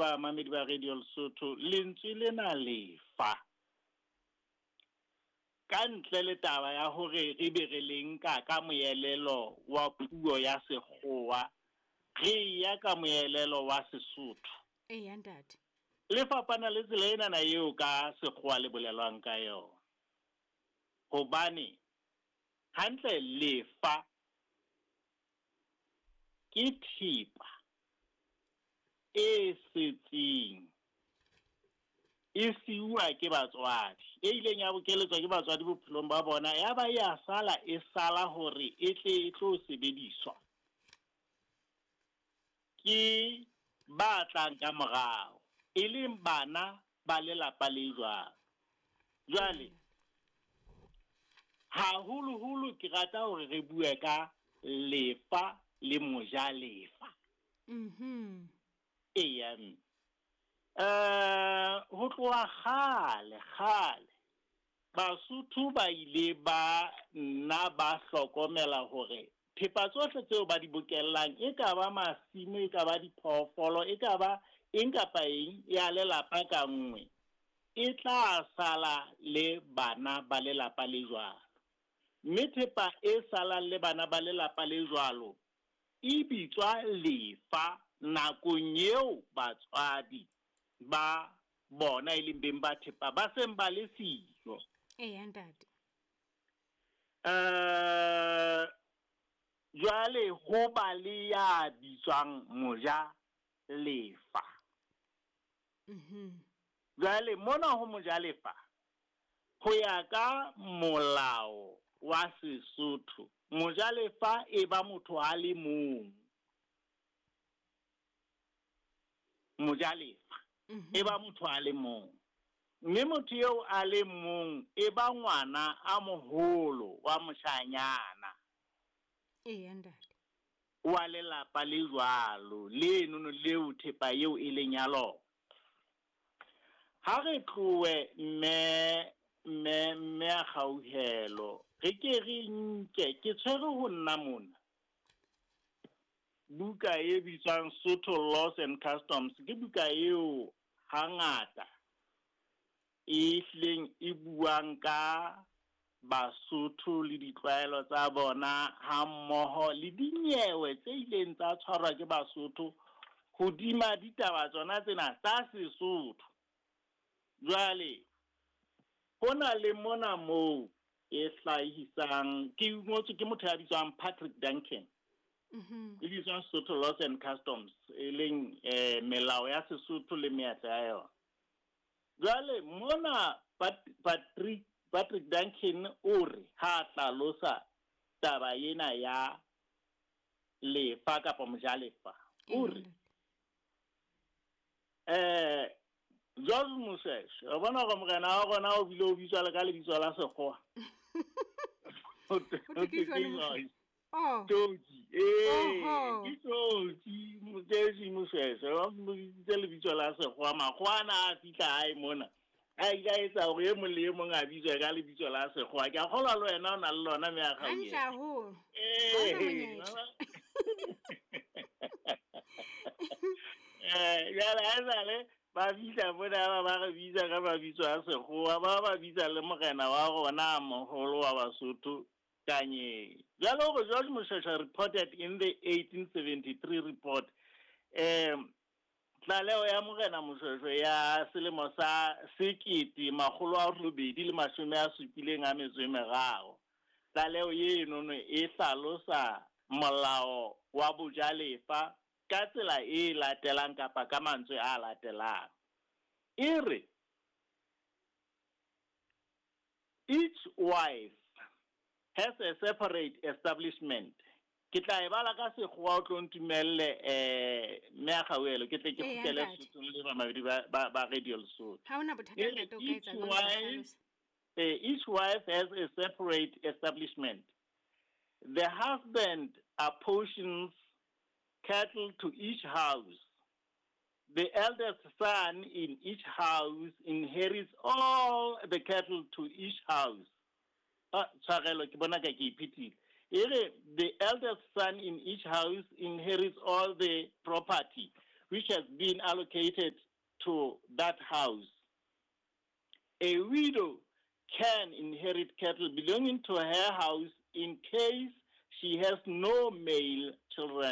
bamamedi ba Radio Lesotho, lentswe lena lefa. Ka ntle le taba ya hore re be re le nka ka moelelo wa puo ya Sekgowa, re ya ka moelelo wa Sesotho. Eya ntate. Le fapana le tsela enana eo ka Sekgowa le bolelwang ka yona. Hobane hantle lefa ke thepa e setseng e siuwa ke batswadi, e ileng ya bokeletswa ke batswadi bophelong ba bona, ya ba ya sala e sala hore e tle e tlo sebediswa ke ba tlang ka morao, e leng bana ba lelapa le jwalo. Jwale haholoholo ke rata hore re bue ka lefa le mojalefa. Eya mme. Ho tloha kgale kgale Basotho ba ile ba nna ba hlokomela hore thepa tsohle tseo ba di bokellang, e ka ba masimo, e ka ba diphoofolo, e ka ba eng kapa eng ya lelapa ka nngwe, e tla sala le bana ba lelapa le jwalo. Mme thepa e salang le bana ba lelapa le jwalo e bitswa lefa nakong eo batswadi ba bona e leng beng ba thepa ba seng ba le siyo. Eya ntate. Jwale ho ba le ya bitswang moja lefa. Jwale mona ho mojalefa, ho ya ka molao wa Sesotho, mojalefa e ba motho a le mong. Mojalefa e ba motho a le mong. Mme motho eo a le mong e ba ngwana a moholo wa moshanyana. Eya ntate. Wa lelapa le jwalo, lenono leo thepa eo e leng ya lona. Ha re tlohe mme mme mme a kgauhelo, re ke re nke ke tshwere ho nna mona buka e bitswang Sotho Laws and Customs. Ke buka eo hangata e hlileng e buang ka Basotho le ditlwaelo tsa bona ha mmoho le dinyewe tse ileng tsa tshwarwa ke Basotho hodima ditaba tsona tsena tsa Sesotho. Jwale ho na le mona moo e hlahisang, ke ngotswe ke motho ya bitswang Patrick Duncan. E bitswang Sotho Laws and Customs, e leng melao ya Sesotho le meetlo ya yona. Jwale mona Patrick Duncan o re ha hlalosa taba ena ya lefa kapa mojalefa, o re George Moseshe, o bona hore morena wa rona o bile o bitswa le ka lebitso la Sekgowa. Oh. Tsoki, ke Tsoki, Moseshe Moseshe, ba mmoditse lebitso la Sekgowa, makgowa ana a fihla hae mona. A ile a etsa hore e mong le e mong a bitswe ka lebitso la Sekgowa. Ke a kgolwa le wena o na le lona mme a Hantle haholo. Jwale ha esale ba fihla mona ba re bitsa ka mabitso a Sekgowa, ba bitsa le morena wa rona a moholo wa Basotho Kanye. Jwale hore George Moseshe reported in the 1873 report, tlaleho ya morena Moshoeshoe ya selemo sa 1873. Tlaleho enono e hlalosa molao wa bojalefa ka tsela e latelang kapa ka mantswe a latelang. E re, each wife has a separate establishment. Ke tla e bala ka Sekgowa o tlo ntumelle mme a kgauhelo ke tle ke kgutlele Sesothong le bamamedi ba Radio Lesotho. Ha hona bothata ntate, o ka etsa jwalo. Each wife has a separate establishment. The husband apportions cattle to each house. The eldest son in each house inherits all the cattle to each house. Tshwarelo ke bona ka ke iphethile. Ere the eldest son in each house inherits all the property. which has been allocated to that house. A widow can inherit cattle belonging to her house in case she has no male children.